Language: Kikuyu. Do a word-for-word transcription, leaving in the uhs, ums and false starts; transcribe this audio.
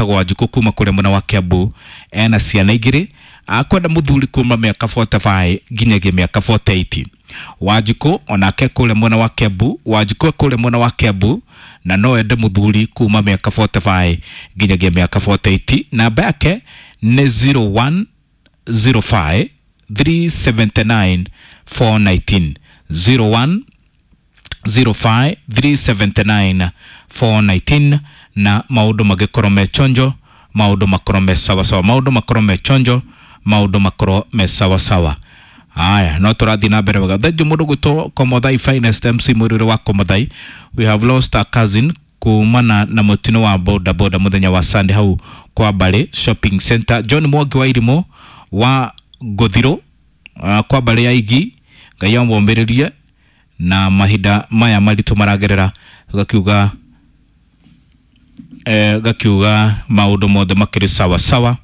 Wanjikũ kuma kũrĩa mwena wa Kiambu, ena ciana igĩrĩ, akwenda mũthuri kuma mĩaka mĩrongo ĩnana na ithano nginyagia mĩaka mĩrongo ĩnane na nyanya. Wanjikũ onake kũrĩa mwena wa Kiambu, Wanjikũ kũrĩa mwena wa Kiambu na no ende mũthuri kuma mĩaka mĩrongo ĩnana na ithano nginyagia mĩaka mĩrongo ĩnane na nyanya. Namba yake nĩ zero one zero five three seven nine four one nine, zero one zero five three seven nine four one nine. Na maundu magikorwo me chonjo, maundu makorwo me sawa sawa, maundu makorwo me chonjo, maundu makorwo me sawa sawa. Aya, no tũrathiĩ na mbere wega. Thengiũ mũndũ gwĩtwo Komothai Finest M C mwĩrĩre wa Komothai. We have lost a cousin kumana na mũtino wa boda boda mũthenya wa Sunday hau kwa Mbale Shopping Center. John Mwangi wa Irimũ wa Ngũthirũ, uh, kwa Mbale ya Igi, Ngai amũmĩrĩrie na mahinda maya maritũ maragerera. Gakiuga eh, gakiuga maũndũ mothe makĩrĩ sawa sawa.